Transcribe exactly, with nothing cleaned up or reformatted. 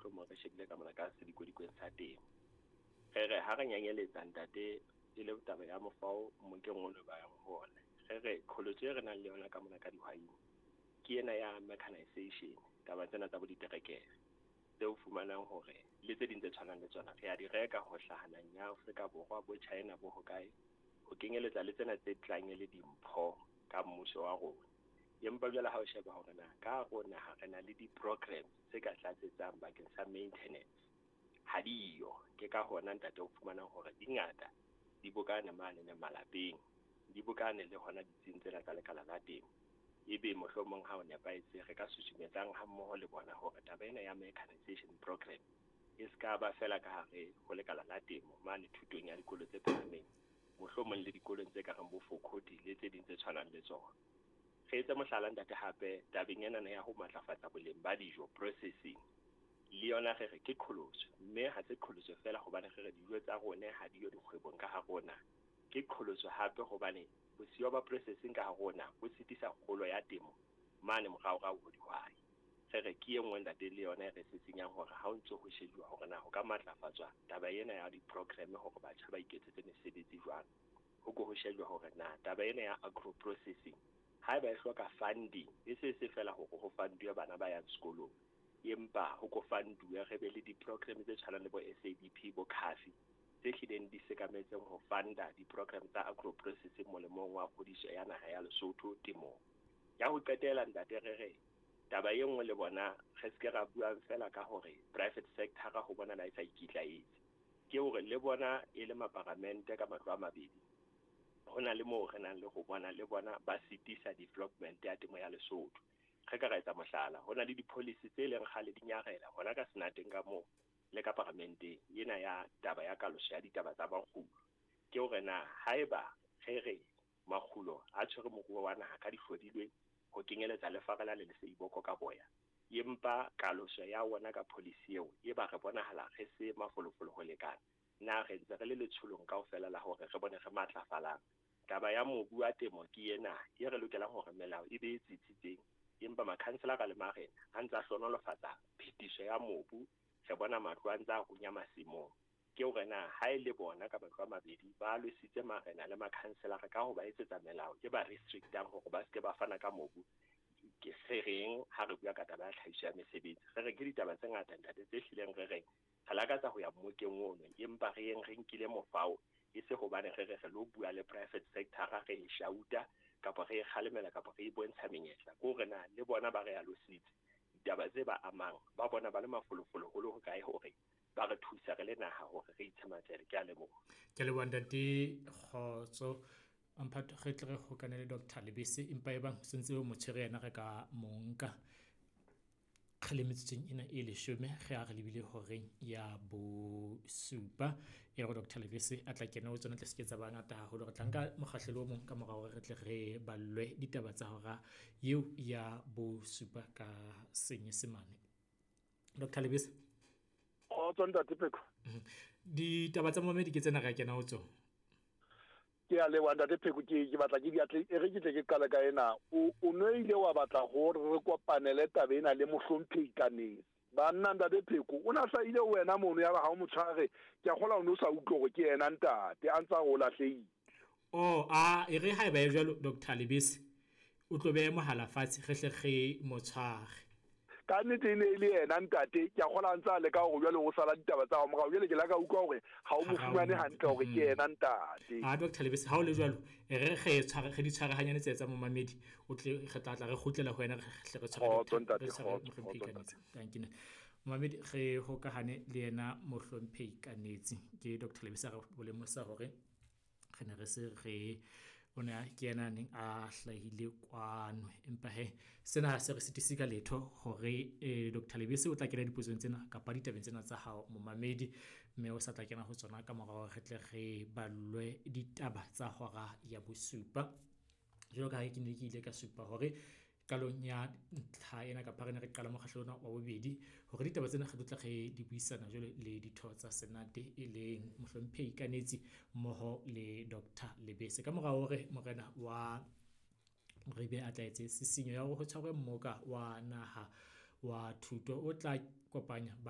mohlomong re shebile ka mona ka sedikodikweng sa temo. Re re ha re nyanyeletsa ntate e le taba ya mofao mmokeng ono ba yang ho ona. Re re qholotso e re nang le yona ka mona ka dihwaing ke ena ya mechanization, taba tsena tsa bo diterekere tseo fumanang hore le tse ding tse tshwanang le tsona re a di reka ho hlaha ya Afrika Borwa, bo China, bo hokae, ho kenyeletsa le tsena tse tlang e le dimpho ka mmuso wa rona. Empa jwale ha o sheba hore na ka hare ho naha re na le di-programs tse ka tlatsetsang bakeng sa maintenance, ha diyo. Ke ka hona ntate o fumanang hore di ngata di bokane mane ne malapeng, di bokane le hona ditsing tsena tsa lekala la temo. Ebe mohlomong ha o nepahetse re ka susumetsang ha mmoho le bona hore taba ena ya mechanization program e ska ba fela ka hare ho lekala la temo mane thutong ya dikolo tse phahameng, mohlomong le dikolong tse ka reng bo Fokoti le tse ding tse tshwanang le tsona. Re etse mohlala ntate hape tabeng ena ya ho matlafatsa boleng ba dijo, processing, le yona re re ke qholotso, mme ha se qholotso fela hobane re re dijo tsa rona ha di yo dikgwebong ka ha rona, ke qholotso hape hobane bosiyo ba processing ka ha rona bo sitisa kgolo ya temo mane moraorao ho dihwai. Re re ke e nngwe ntate le yona e re sisinyang hore ha o ntso ho shejuwa hore na ho ka matlafatswa taba ena ya di-program hore batjha ba iketsetse mesebetsi jwang, ho ko ho shejwa hore na taba ena ya agro processing haeba e hloka funding, e se se fela hore ho funduwe bana ba yang sekolong, empa ho ko funduwe re be le di-program tse tshwanang le bo S A D P, bo C A F I tse hlileng di sekametseng ho funda di-program tsa agro processing molemong wa kgodiso ya naha ya Lesotho temong. Ya ho qetela ntate re re taba e nngwe le bona re se ke ra buang fela ka hore private sector ho bona la e sa ikitlaetse, ke hore le bona e le maparamente ka matlo a mabedi, ho na le moo re nang le ho bona le bona ba sitisa development ya temo ya Lesotho. Re ka ra etsa mohlala, ho na le di-policy tse leng kgale di nyarela hona ka senateng ka moo le ka paramenteng ena ya taba ya kaloso ya ditaba tsa makgulo. Ke hore na haeba re re makgulo a tshwere moruo wa naha ka dihlodilweng ho kenyeletsa le farela le leseiboko ka boya, empa kaloso ya wona ka policy eo e ba re bonahala re se mafolofolo ho lekana, na re ntse re le letsholong kaofela la hore re bone re matlafalang. Taba ya mobu wa temo ke ena e re lokelang hore melao e be e tsitsitseng, empa makhanselara le marena a ntse a hlohonolofatsa phetiso ya mobu, re bona matlo a ntse a runya masimong. Ke hore na ha e le bona ka matlo a mabedi ba lwesitse marena le makhanselara ka ho ba etsetsa melao e ba restrictang hore ba seke ba fana ka mobu, ke re reng ha re bua ka taba ya tlhahiso ya mesebetsi? Re re ke ditaba tse ngata ntate tse hlileng re reng re lakatsa ho ya mmokeng ono, empa re yeng re nkile mofao e se hobane re re re lo bua le private sector re e shauta kapa re e kgalemela kapa re e bontsha menyetla. Ke hore na le bona ba re alositse ditaba tse ba amang, ba bona ba le mafolofolo ho le hokae hore ba re thusa re le naha hore re itshematsele. Ke a leboha. Ke leboha ntate Kgotso. Amphato re tle re hokane le Doctor Lebese, empa e bang sentse o mo tshwere yena re ka mo nka. Re le metsotsong ena e leshome re a re lebile horeng ya bosupa, e re Doctor Lebese a tla kena ho tsona tle se ke tsa ba ngata haholo. Re tla nka mokgahlelo o mong ka mora hore re tle re ballwe ditaba tsa hora eo ya bosupa ka Senyesemane. Doctor Lebese. Kgotso ntate Pheko. Ditaba tsa momedi ke tsena re kena ho tsona. Ke a leboha ntate Pheko, ke ke batla ke di atle, e re ke tle ke qale ka ena. O, o no ile wa batla hore re kopanele taba ena le mohlomphehi Kanetsi. Banna ntate Pheko, o na hlahile wena mono ya ba ha o mo tshware, ke a kgolwa o no sa utlwe hore ke yena ntate, a ntsa o lahlehile. Oh, a e re haeba e jwalo Doctor Lebese, o tlo beha mohala fatshe re hle re mo tshware. Ka nnete e ne e le yena ntate, ke a kgolwa a ntse a leka hore jwale o sala ditaba tsa hao morao. Jwale ke la ka utlwa hore ha o mo fumane hantle hore ke yena ntate. Ah, Doctor Lebese, ha o le jwalo, e re re tshware, re di tshware hanyane tse tsa momamedi, o tle re tla tla re kgutlela ho wena, re hle re tshware Kgotso Doctor ntate, re tshware kgotso, mohlomphehi kgotso Kanetsi. ntate. Thank you. Momamedi, re hokahane le yena mohlomphehi Kanetsi. Ke Doctor Lebese a re bolemosa hore re ne re se re o ne a ke yena a neng a hlahile kwano, empa he sena ha se re sitise ka letho hore, eh, Doctor Lebese o tla kena dipotsong tsena kapa ditabeng tsena tsa hao momamedi, mme o sa tla kena ho tsona ka mora hore re tle re ballwe ditaba tsa hora ya bosupa. Jwalo ka ha ke ne ke ile ka supa hore qalong ya ntlha ena kapa re ne re qala mokgahlelo ona wa bobedi hore ditaba tsena re tlo tla re di buisana jwale le ditho tsa Senate e leng mohlomphehi Kanetsi mmoho le Doctor Lebese. Ka mora hore morena wa Ribe a tla etse sisinyo ya hore ho tshwarwe mmoka wa naha wa thuto o tla kopanya ba